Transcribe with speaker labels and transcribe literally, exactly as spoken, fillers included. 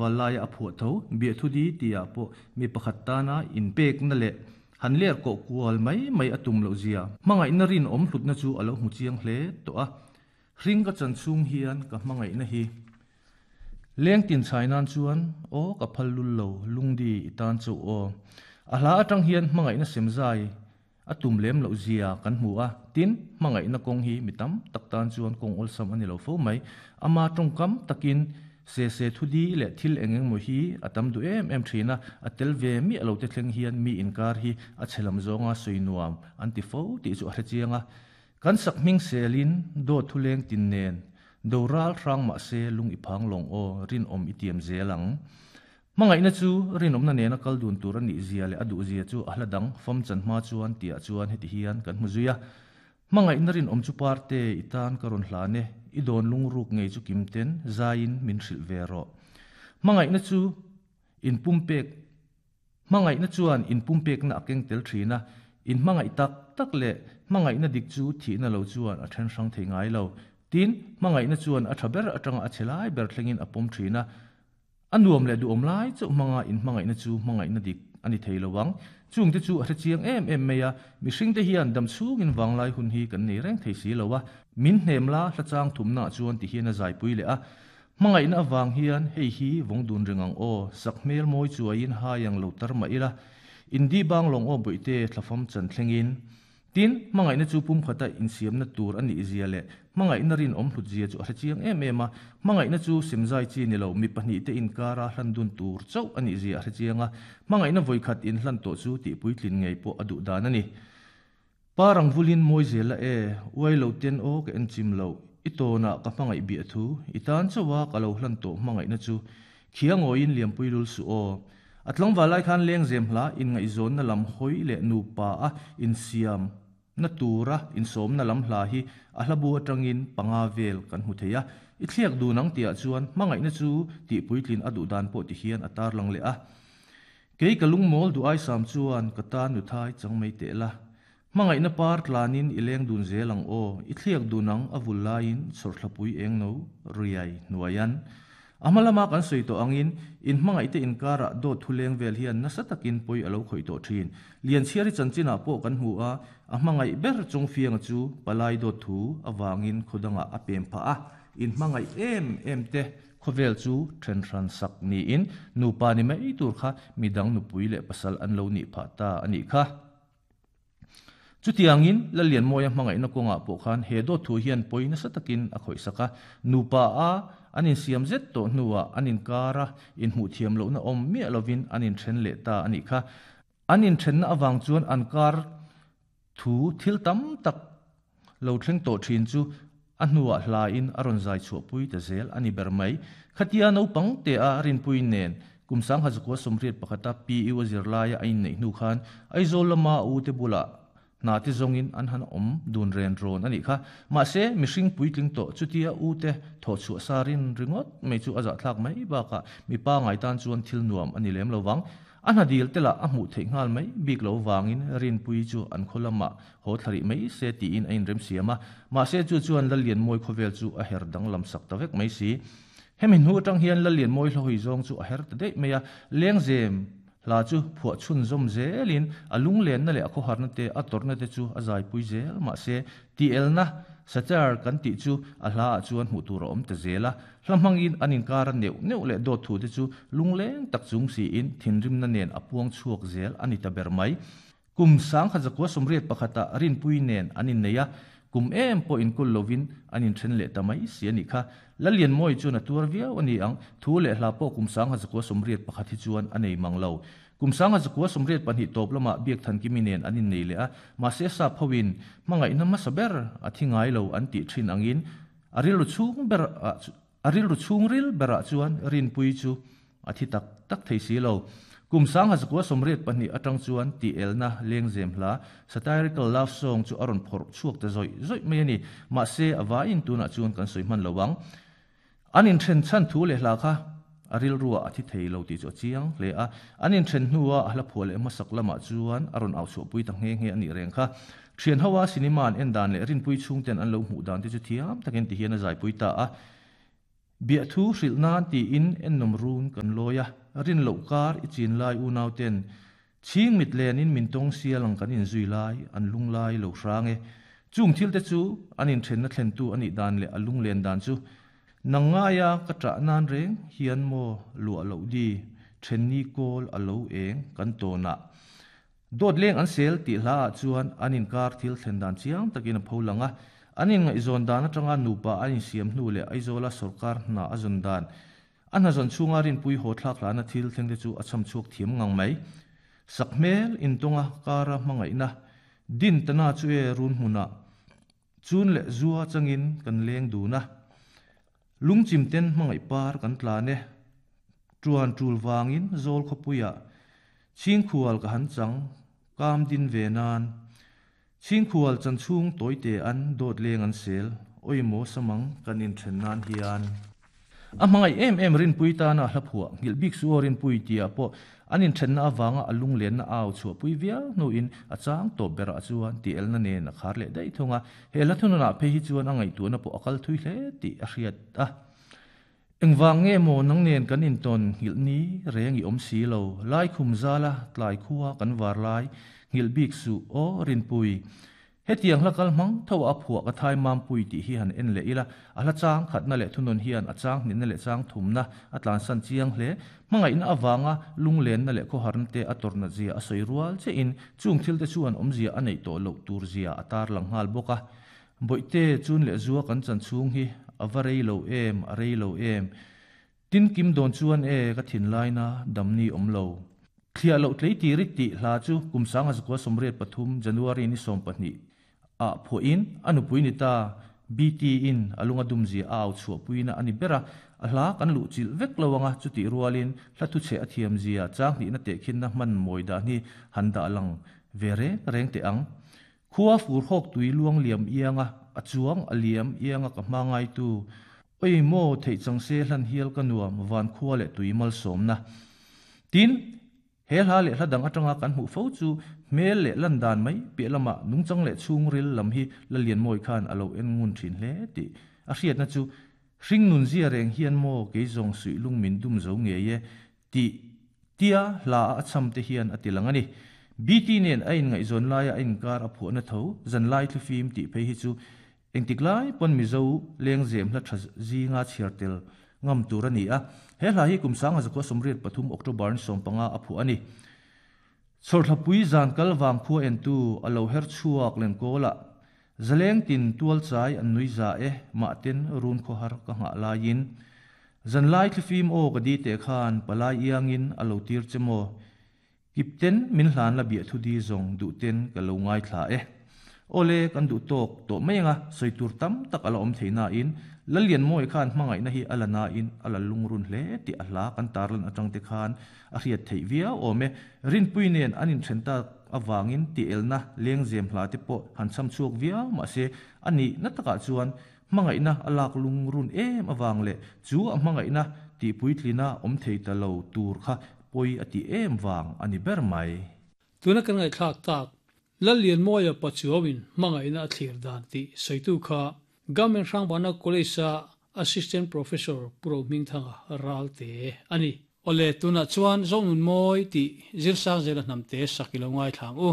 Speaker 1: tlangval laia a phuah tho Biahthu Di tihah pawh mi pakhat tana inpekna leh han ler kawh kual mai mai a tum loh zia hmangaihna rinawm hlutna chu a lo hmu chiang hle tawh a. Hring ka chan chhung hian ka hmangaihna hi leng tin chhai nan chuan aw ka phal lul lo lungdi i tan chauh aw. A hla atang hian hmangaihna semzai a tum lem loh zia kan hmu a, tin hmangaihna kawng hi mi tam tak tan chuan kawng awlsam a ni lo fo mai. Ama tawngkam takin se se thu di leh thil eng eng maw hi a tam duh em em thin a, a tel ve miah lo te thleng hian mi inkar hi a chhe lam zawnga sawi nuam an ti fo tih chu a hre chiang a. Kan sak hming selin dawt thu leng tin nen do ral hrang mah se lung i phang lawng aw rinawm i tiam zel ang. Hmangaihna chu rinawmna nena kal dun tur a nih zia leh a duh zia chu a hla dang fam chan hma chuan tihah chuan heti hian kan hmu zui a. Hmangaihna rinawm chu parte i tan ka rawn hlan e, i dawn lungruk ngei chu kim ten zaiin min hrilh ve rawh. Hmangaihna chu inpumpek Hmangaihna chuan inpumpekna a keng tel thin a, in hmangaih tak tak leh hmangaihna dik chu thihna lo chuan a then hrang thei ngai lo. Tin, hmangaihna chuan a tha ber atanga a chhe lai ber thlengin a pawm thin a, a nuam leh duhawm lai chauh hmanga in hmangaihna chu hmangaihna dik a ni thei lo ang. Chungte chu a hre chiang em em mai a, mihringte hian dam chhungin vanglai hun hi kan nei reng thei si lo a, min hnem la hlachang thumnaah chuan ti hian a zaipui leh a. Hmangaihna avang hian hei hi vawng dun reng ang aw, sak hmel mawi chuaiin hai ang lo tar mah ila, Indi bang lawng aw bawihte thlafam chan thlengin. Tin, hmangaihna chu pumkhata insiamna tur a nih zia leh hmangaihna rinawm hlut zia chu a hre chiang em em a. Hmangaihna chu semzai chi ni lo, mi pahnih te inkara hlan dun tur chauh a nih zia a hre chiang a. Hmangaihna vawikhat inhlan tawh chu tihpuitlin ngei pawh a duh dan a ni. Pa rang vulin mawi zel a e, uai lo ten aw ka en chim loh, i tawnah ka hmangaih biah thu, i tan chauha ka lo hlan tawh hmangaihna chu khiangawiin liampui lul suh aw. A tlangval lai khan lengzem hla inngaihzawnna lam hawi leh nupa a insiam na tura insawmna lam hla hi a hlabu atangin panga vel kan hmu thei a. I thliak dun ang tihah chuan hmangaihna chu tihpuitlin a duh dan pawh ti hian a tarlang leh a. Kei ka lungmawl duh aisam chuan ka tan nuthai chang mai teh la. Hmangaihna par tlanin i leng dun zel ang aw, i thliak dun ang a vul laiin chhawrthlapui eng no riai hnuaian. A hma lama kan sawi tawh angin, in hmangaihte inkarah dawt thu leng vel hian nasa takin pawi a lo khawih tawh thin. Lianchhiari chanchinah pawh kan hmu a, a hmangaih ber Chawngfianga chu palai dawt thu avangin khaw dangah a pem phah a. In hmangaih em em te khawvel chu then hran sak niin nupa ni mai tur kha midang nupui leh pasal an lo nih phah ta a nih kha. Chutiangin Lallianmawia hmangaihna kawngah pawh khan he dawt thu hian pawi nasa takin a khawih sak a, nupa a an insiam zet tawh hnuah an inkar a, inhmuh thiam lohna awm miah lovin an inthen leh ta a nih kha. An inthenna avang chuan an kar thu thil tam tak lo thleng tawh thin chu a hnuah hlain a rawn zai chhuahpui ta zel a ni ber mai. Khatia naupang te a rinpui nen kum sangha zakua sawmriat pakhata P U a zirlaia a inneih hnu khan Aizawl lama a ute bulah hna te zawngin an han awm dun ren rawn a nih kha. Mahse, mihring puitling tawh chutia ute thawh chhuah sa rin ringawt mai chu a zahthlak mai bakah mipa ngai tan chuan thil nuam a ni lem lo vang. A hna dil te lah a hmuh theih nghal mai bik lo vangin Rinpui chu an khaw lamah haw thla rih mai se tiin a inremsiam a. Mahse chu chuan Lallianmawi khawvel chu a her danglam sak ta vek mai si. Hemi hnu atang hian Lallianmawi hlahawi zawng chu a her ta daih mai a, lengzem hla chu phuah chhunzawm zelin a lunglenna leh a khawharna te a tawrhna te chu a zaipui zel. Mahse, tielna satire kan tih chu a hla ah chuan hmuh tur a awm ta zel a, hla hmangin an inkar a neuh neuh leh dawt thu te chu lungleng tak chung siin thinrimna nen a puang chhuak zel a ni ta ber mai. Kum sangkhat zakua sawmriat pakhatah Rinpui nen an innei a, kum em pawh inkul lovin an inthen leh ta mai si a nih kha. Lallianmawi chuan a tuar viau a ni ang, thu leh hla pawh kum sangha zakua sawmriat pakhat hi chuan a nei mang lo. Kum sangha zakua sawmriat pahnih tawp lamah Biakthankimi nen an innei leh a, mahse sap hoin hmangaihna hmasa ber a thi ngai lo an tih thin angin a rilru chhung ber ah a rilru chhungril berah chuan Rinpui chu a thi tak tak thei si lo. Kum sangha zakua sawmriat pahnih atang chuan tih elna lengzem hla satirical love song chu a rawn phawrh chhuak ta zawih zawih mai a ni. Mahse a vaiin tunah chuan kan sawi hman lo ang. An inthen chhan thu leh hla kha a rilruah a thi thei lo tih chu a chiang hle a. An inthen hnua a hla phuah leh hmasak lamah chuan a rawn au chhuahpui ta nghe nghe a nih reng kha. Thian hoa cinema an en dan leh Rinpui chhungten an lo hmuh dan te chu thiam takin ti hian a zaipui ta a. Biahthu hrilh nan tiin ennawm run kan lawi a, rin loh kar i chin lai unau ten chhing mit lenin min tawng sial ang kan inzui lai an lung lai lo hrang e. Chung thil te chu an inthenna thlentu a nih dan leh a lunglen dan chu nang ngaia ka ṭah nan reng hian maw luah loh di ṭhenni kawl a lo eng kan tawnah dawt leng an sel tih hla ah chuan an inkar thil thlen dan chiang takin a pho lang a, an inngaihzawn dan atanga nupa an insiam hnu leh Aizawla sawrkar hna a zawn dan a hna zawn chhunga rinpui haw thlak hlana thil thleng te chu a cham chhuak thiam ngang mai. Sakhmel intawnga kara hmangaihna din tana chu e run hmunah chun leh zua changin kan leng dun a, lungchim ten hmangaih par kan tlan e, tuan tul vangin zawl khawpuiah chhingkhual ka han chang kam din ve nan chhingkhual chan chhung tawite an dawt leng an sel awimaw samang kan inthen nan hian a hmangaih em em rinpui tana hla phuah nghilh bik su aw rinpui tia pawh an inthenna avanga a lunglenna au chhuahpui viau hnuin a chang tawp berah chuan tih elna nen a khar leh daih thung a, he hla thununah phei hi chuan a ngaihtuahna pawh a kal thui hle tih a hriat a. Engvang nge maw nang nen kan intawn nghilh ni reng i awm si lo, lai khum zala tlai khua kan var lai nghilh bik suh aw rinpui. Hetiang hla kal hmang tho a phuah ka thai mampui tih hi han en leh ila, a hla chang khatna leh thunun hian a chang hnihna leh chang thumna a tlansan chiang hle. Hmangaihna avanga lunglenna leh khawharna te a tawrhna zia a sawi rual chiahin chung thil te chuan awmzia a neih tawh loh tur zia a tar lang nghal bawk a. Bawihte chun leh zua kan chan chhung hi a va rei lo em, a rei lo em. Tin kim dawn chuan e ka thinlaina damni awm lo. Thliah loh tlei tir i tih hla chu kum sanga zakua sawmriat pathum January ni sawm pahnih ah phuahin a nupui ni ta B T in a lunga dum zia a au chhuahpuina a ni ber a, a hla kan luh chilh vek lo anga chutih rualin hla thuchhe a thiam zia chang hnihna tehkhinna hman mawi dan hi han dah lang ve reng reng teh ang. Khua fur hawk tui luang liam ianga a chuang a liam ianga ka hma ngaitu awi maw theih chang se hlan hial ka nuam van khua leh tui malsawmna. Tin, he hla leh hla dang atanga kan hmuh fo chu hmel leh lan dan mai piah lamah nungchang leh chhungril lam hi la lian mawi khan a lo en ngun thin hle tih a hriatna chu hring nun zia reng hian maw kei zawng suih lung min dum zo ngei e tih tia hla a cham te hian a ti lang a ni. B T nen a inngaihzawn laia a inkar a phuahna tho zanlai thlifim tih phei hi chu engtik lai pawn Mizo lengzem hla tha zinga chhiar tel ngam tur a ni a, he hla hi kum sanga zakua sawmriat pathum October ni sawm panga a phuah a ni. Chhawrthlapui zan kal vang khua entu a lo her chhuak len kawlah zaleng tin tual chai an nui za e mahten run khawhar ka nghah laiin zanlai thlifim aw ka di teh khan palai iangin a lo tir che maw kipten min hlan la biah thu di zawng duh ten ka lo ngaithla e. Awle kan duh tawk tawh mai anga sawi tur tam tak a la awm thei nain Lalian mawi khan hmangaihna hi a la nain a la lungrun hle tih a hla kan tarlan atang te khan a hriat theih viau awm e. Rinpui nen an inthen tak avangin tih elna lengzem hla te pawh han cham chhuak viau mahse a nih na takah chuan hmangaihna a lak lungrun em avang leh chu a hmangaihna tih puitlina awm thei ta lo tur kha pawi a tih em vang a ni ber mai.
Speaker 2: Tuna kan ngaihthlak tak Lalian mawia Pachuauin hmangaihna a thlir dan tih sawitu kha Government Hrangbana College-a Assistant Professor Pu Rohmingthanga Ralte a ni. Awle, tunah chuan Zonun mawi tih zirsang zela hnamte sak i lo ngaithlang u.